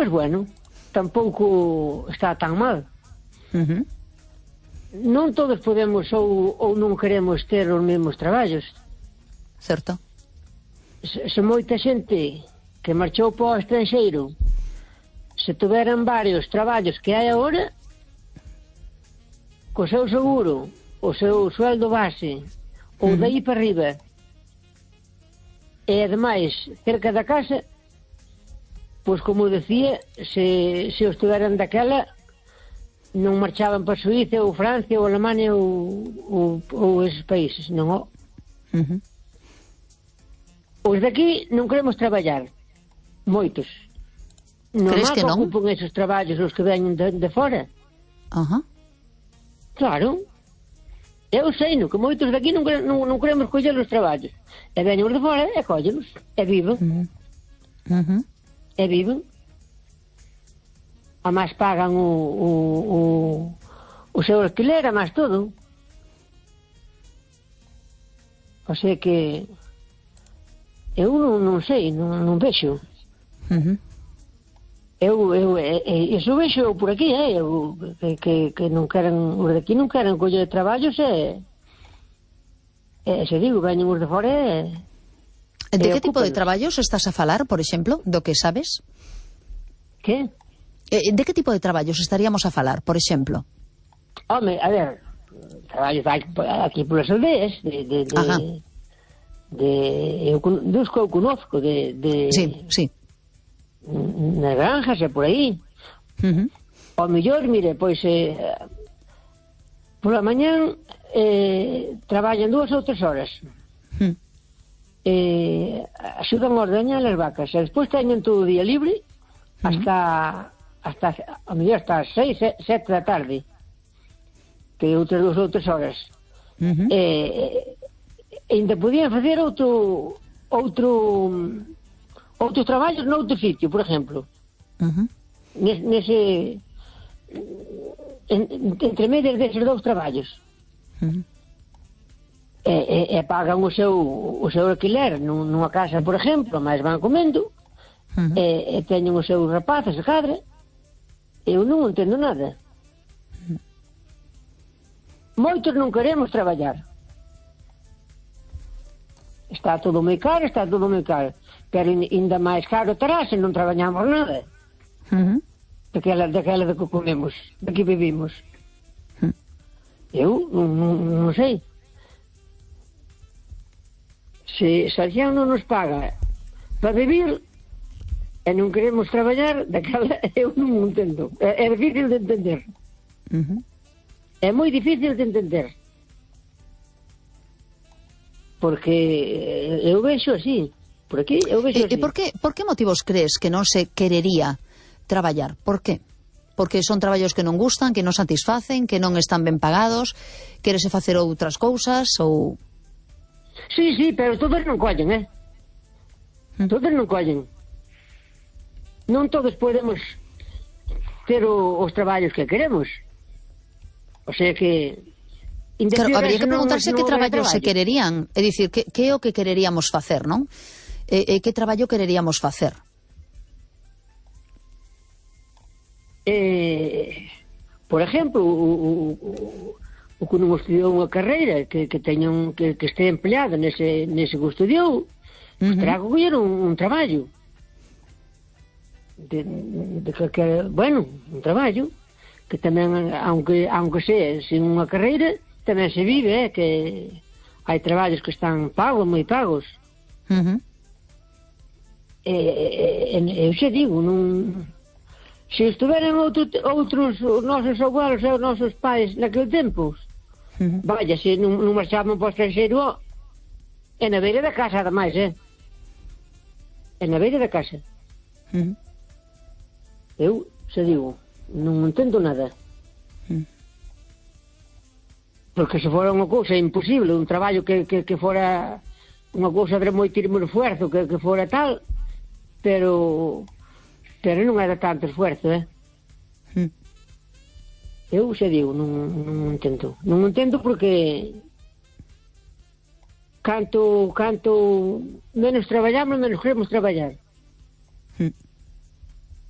Pois bueno, tampouco está tan mal. Non todos podemos ou non queremos ter os mesmos traballos. Certo. Se moita xente que marchou para o estranxeiro, se tuveran varios traballos que hai agora, co seu seguro, o seu sueldo base, ou daí para arriba, e ademais cerca da casa, pois como decía, se os tuveran daquela, non marchaban para Suíza ou Francia ou Alemania ou esos países, non. Os de aquí non queremos traballar, moitos. Crees que non? Ocupan esos traballos os que veñen de fora. Claro. Eu sei, que moitos de aquí non queremos coller os traballos. E veñen os de fora e collenos. E viven. E viven. A máis pagan o seu alquiler, a máis todo. O sea que eu non sei, non vexo. Iso vexo por aquí, que non queren, os de aquí non queren coller traballos se digo, veñen os de fora De que tipo de traballos estás a falar, por exemplo, do que sabes? Que? De que tipo de traballos estaríamos a falar, por exemplo? Home, a ver, traballos aquí polas aldeas, dos que eu conozco, Sí. nas granjas e por aí. Ao mellor, mire, pois pola mañán traballan 2 ou 3 horas, axudan a ordeñar as vacas e despois teñen todo o día libre hasta ao mellor hasta as 6, 7 da tarde, que outras 2 ou 3 horas. Ainda podían facer outros traballos noutro sitio, por exemplo. Nese entre medias deses 2 traballos. E pagan o seu alquiler nunha casa, por exemplo, mas van comendo, e teñen os seus rapaces de cadra. Eu non entendo nada. Moitos non queremos traballar. Está todo moi caro, pero ainda máis caro terá se non traballamos nada. Daquela de que comemos, de que vivimos. Eu non sei. Se a xente non nos paga para vivir e non queremos traballar, daquela eu non entendo. É difícil de entender. É moi difícil de entender. Porque eu vexo así. Por aquí eu vexo así. E por que motivos crees que non se querería traballar? Por que? Porque son traballos que non gustan, que non satisfacen, que non están ben pagados, querese facer outras cousas ou... Sí, pero todos non collen, Todos non collen. Non todos podemos ter os traballos que queremos. O sea que... Claro, habría que preguntarse que traballos se quererían. É dicir, que é o que quereríamos facer, non? Que traballo quereríamos facer? Por exemplo, o que non estudiou unha carreira que este empleado nese que estudiou, terá que coller un traballo. Bueno, un traballo que tamén, aunque sea sin unha carreira, tamén se vive, que hai traballos que están pagos, moi pagos. Eu xa digo, non... Se estuveran outros nosos abuelos e os nosos pais naquele tempo, vaya, se non marchaban para o estranxeiro, é na beira da casa, ademais, é na beira da casa. Eu xa digo, non entendo nada. Porque se fora unha cousa imposible, un traballo que fora unha cousa de moitísimo esfuerzo, que fora tal, pero non era tanto esfuerzo, Eu xa digo, non entendo. Non entendo porque canto menos traballamos, menos queremos traballar.